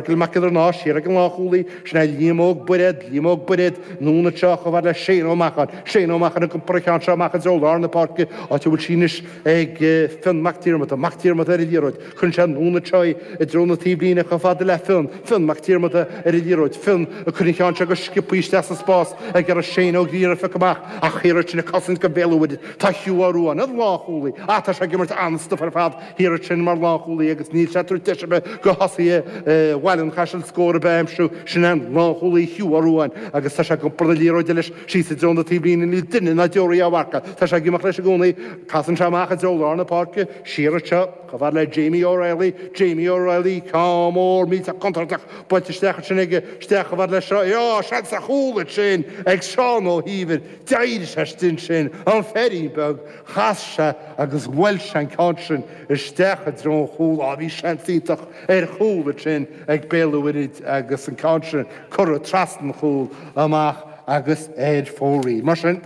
Fergal Mac Giollarnáth siar ag an lánchúlaí, sin é Liam Óg Bairéad, Liam Óg Bairéad, anonn anseo chomh fada le Shane Ó Macháin, Shane Ó Macháin ag iompar an cheann seo amach i dtreo lár na páirce, áit a bhfuil sí anois ag Fionn Mac Diarmada, Mac Diarmada ar an liathróid, cuireann sé anonn anseo í i dtreo na taobhlíne chomh fada le Fionn, Fionn Mac Diarmada ar an liathróid, Fionn ag cur an cheann seo go sciobthaí isteach sa spás ag iarraidh Shane Ó Griaire a phiocadh amach ach thiar ansin ag cosaint do Bhéal an Mhuirthead tá Hugh Ó Ruadháin, an lánchúlaí, ah tá sé ag imirt an-stuif ar fad. Thiar ansin mar lánchúlaí agus níl sé ag tabhairt deis ar bith do thosaithe Bhaile an Chaisil scór ar bith a aimsiú. Sin é an lánchúlaí Hugh Ó Ruadháin agus tá sé ag iompar na liathróide leis síos i dtreo na taobhlíne. Níl duine ná deoraí á mharcadh. Tá sé ag imeacht leis i gcónaí. Casann sé amach i dtreo lár na páirce. Siar anseo chomh fada le Jamie O'Reilly. Jamie O'Reilly, ceann mór millteach contúirteach buailte isteach ansin aige. Isteach chomh fada le seo. Á, seans ar chúl ansin ag Seán Ó hÍomhair. D'éirigh sé istigh ansin, an feairín beag. Chas sé agus bhuail sé an ceann sin isteach i dtreo an chúil. Á, bhí seans iontach ar chúl ansin ag Béal an Mhuirthid agus an ceann sin curtha trasna an chúil amach agus ar fóraoil. Mar sin,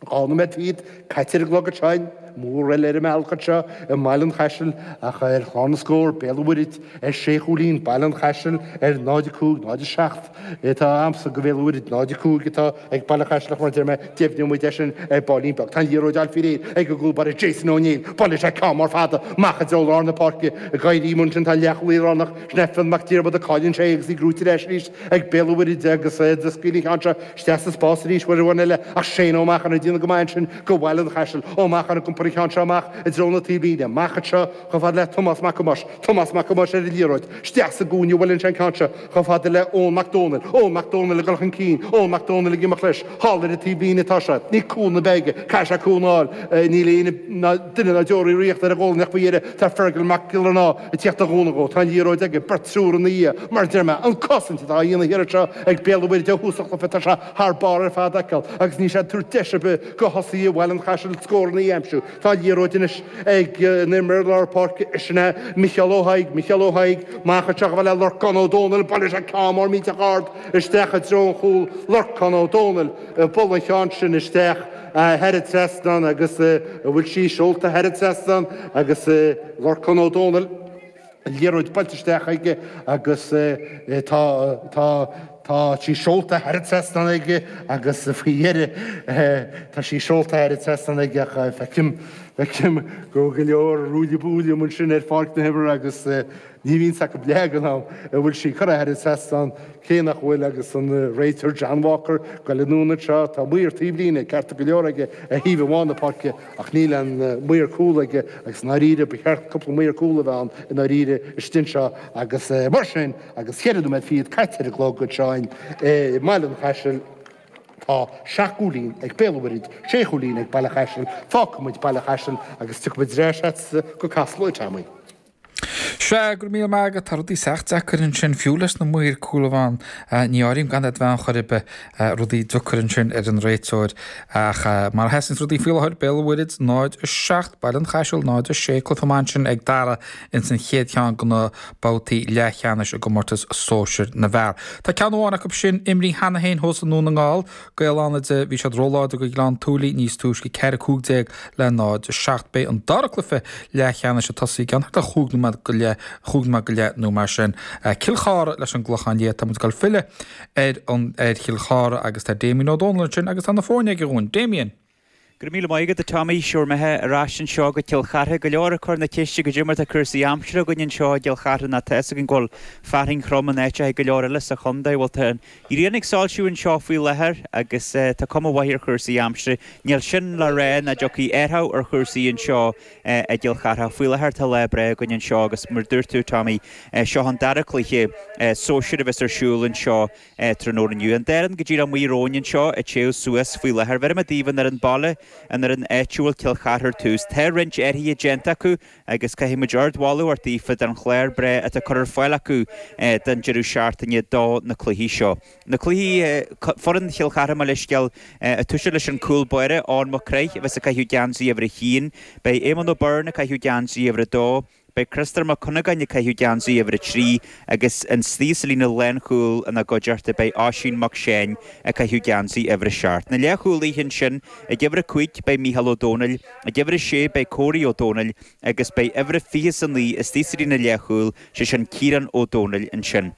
2 nóiméad fichead caite ar an gclog ansin, mór eile ar an mbealach anseo i mBaile an Chaisil ach ar chlár na scór, Béal an Mhuirthid ar sé chúilín, Baile an Chaisil ar 0-5, 0-7. Atá agamsa do Bhéal an Mhuirthid, 0-5 atá ag Baile an Chaisil ach mar a deir mé, deimhneoidh muid é sin ar baillín beag. Tá an liathróid á fáil faoi réir ag an gcúl báire Jason Ó Néill. Buaileann sé ceann mór fada amach i dtreo lár na páirce. Ag éirí amuigh ansin tá an leathchúlaí lárnach, sin é Fionn Mac Diarmada, cailleann sé é agus í gnóite ar ais arís ag Béal an Mhuirthid agus ag scaoileadh an cheann seo isteach sa spás arís uair amháin eile ach Shane Ó Macháin ag déanamh go maith ansin do Bhaile an Chaisil. Ó Macháin ag iompar an cheann seo amach i dtreo na taobhlíne. Amach anseo chomh fada le Tomás Mac Thomáis. Tomás Mac Thomáis ar an liathróid. Isteach sa gcúinne a bhuaileann sé an ceann seo chomh fada le Eoin Mac Dónaill. Eoin Mac Dónaill ag dul chun cinn. Eoin Mac Dónaill ag imeacht leis. Thall ar an taobhlíne atá sé. Níl cúnamh ar bith aige. Caithfidh sé cúnamh a fháil. Níl aon ná duine ná deoraí riachta ar a ghualainn ach faoi dheireadh tá Fergal Mac Giollarnáth ag tíocht a gcúnamh dhó. Tá an liathróid aige. Beirt triúr ina dhiaidh. Mar a deir mé, an cosaint atá á dhéanamh thiar anseo ag Béal an Mhuirthid ó thús an chluiche tá sé thar barr ar fad a fheiceáil agus níl sé ag tabhairt deis ar bith do thosaithe Bhaile an Chaisil scóranna a aimsiú. Tá an liathróid anois ag an imreoir lár páirce, sin é Micheál Ó hAigh, Micheál Ó hAigh, amach anseo chomh fada le Lorcán Ó Dónaill, buaileann sé ceann mór millteach ard isteach i dtreo an chúil, Lorcán Ó Dónaill ag bualadh an cheann sin isteach thar an trasnán agus an bhfuil sí seolta thar an trasnán agus Lorcán Ó Dónaill. An liathróid buailte isteach aige agus tá, tá, tá sí seolta thar an trasnán aige agus faoi dheireadh tá sí seolta thar an trasnán aige ach feicim, feicim go bhfuil go leor ruaille buaille ansin ar pháirc na himeartha agus ní bhíonn acu leath den am an bhfuil sí curtha thar an trasnán, cé nach bhfuil agus an réiteoir John Walker ag goil anonn anseo, tá maor taobhlíne ceart go leor aige ar thaobh amháin na páirce ach níl aon maor cúl aige agus i ndáiríre ba cheart cúpla maor cúl a bheith ann i ndáiríre istigh anseo agus mar sin agus cheithre nóiméad fichead caite ar an gclog anseo i mBaile an Chaisil tá seacht gcúilín ag Béal an Mhuirthead, sé chúilín ag Baile Chaisil, fágfaidh muid Baile Chaisil agus tiocfaidh muid ar ais agatsa go Casla a Tommy. Sea, go raibh míle maith agat. Tá rudaí sách deacair ansin, fiú leis na maoir cúil a bheith ann. Ní áirím gan iad bheith ann chor ar bith. Rudaí deacair ansin ar an réiteoir. Ach mar a sheasanns rudaí faoi láthair, Béal an Mhuirthead 0, 7, Baile an Chaisil 0, 6, cluiche maith ansin ag Dara ins an chéad cheann de na babhtaí leathcheannais i gcomórtas sóisir na bhfear. Tá ceann amháin acu sin imrithe cheana féin thuas i nDún na nGall. Gaeil Fhánada, bhí siad róláidir do Ghleann tSúilí níos túisce, 4, 15 le 0, 7. Beidh an dara cluiche leathcheannais ag tosaí i gceann thart ar chúig nóiméad go leith, chúig nóiméad go leith nó mar sin. Cill Chartha leis an gClochán Liath. Tá muid ag dul filleadh ar an ar Chill Chartha agus tá Damien Ó Dónaill ansin agus tá na foirne aige dhúinn. Damien. Go raibh míle maith agat, a Tommy. Sure imithe ar ais anseo go Cill Chartha. Go leor ag cur na ceiste goidé mar tá cúrsaí aimsire againn anseo i gCill Chartha nó tá fhios againn go bhfuil fearthainn throm in áiteacha go leor eile sa chontae. Bhuel tá an ghrian ag soilsiú anseo faoi láthair agus tá cuma mhaith ar chúrsaí aimsire. Níl sin le rá nach dtiocfaidh athrú ar chúrsaí anseo i gCill Chartha. Faoi láthair tá lá breá againn anseo agus mar dúirt tú, Tommy, seo an dara cluiche sóisir a bheas ar siúl anseo tráthnóna inniu. An dá fhoireann go díreach amuigh romhainn anseo ag téamh suas faoi láthair. Bheir mé daoibh an fhoireann baile, an fhoireann áitiúil, Cill Chartha ar tús. Tá roinnt athruithe déanta acu agus caithfidh muid ardmholadh a thabhairt daofa don chlár breá atá curtha ar fáil acu don deireadh seachtaine do na cluichí seo. Na cluichí, foireann Chill Chartha mo leithscéal, ag toiseacht leis an cúl báire, Eoin Mac Craith, a bheas ag caitheamh geansaí uimhir a haon. Beidh Éamonn O'Byrne ag caitheamh geansaí uimhir a dó. Beidh Criostóir Mac Cuinneagáin ag caitheamh geansaí uimhir a 3 agus istigh sa líne lánchúil ina gcuideachta beidh Oisín Mac Seáin ag caitheamh geansaí uimhir a 7. Na leathchúlaithe ansin, ag uimhir a 5 beidh Mícheál Ó Domhnaill, ag uimhir a 6 beidh Córaí Ó Domhnaill agus beidh uimhir a 29 istigh sa líne leathchúil, sé sin Ciarán Ó Domhnaill ansin.